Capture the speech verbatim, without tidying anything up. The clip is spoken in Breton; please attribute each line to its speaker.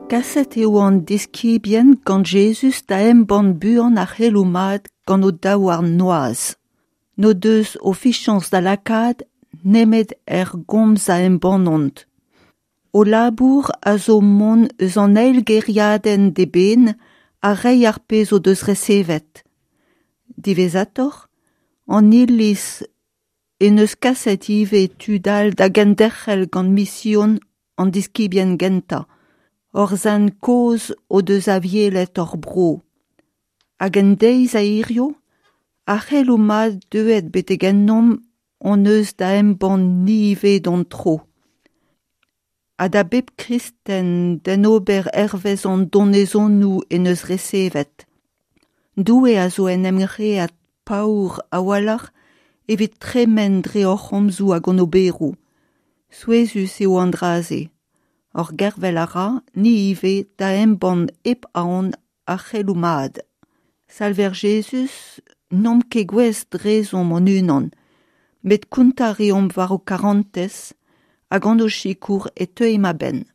Speaker 1: Kaset eo an diskibien gant Jezuz da embann buan ar c'heloù mat gant o daouarn noazh. N'o deus o fiziañs da lakaat nemet er gomz a embannont. O labour a zo mont eus an eil gêriadenn d'eben ha reiñ ar pezh o deus resevet. Diwezhatoc'h, an Iliz he deus kaset ivez tud all da genderc'hel gant mision an diskibien gentañ. Hor sent kozh o deus avielet hor bro. Hag en deiz a hiziv, ar c'heloù mat deuet betek ennomp hon eus da embann ni ivez d'hon tro. Ha da bep kristen d'en ober hervez an donezonoù en deus resevet. Doue a zo en em c'hraet paour a-walc'h evit tremen dre hor c'homzoù hag hon oberoù. Souezhus eo an dra-se. Hor gervel a ra, ni ivez, da embann hep aon ar c'heloù mat. Salver Jezuz, n'omp ket gouest drezomp hon-unan, met kontañ a reomp war ho karantez ha gant ho sikour e teuimp a-benn.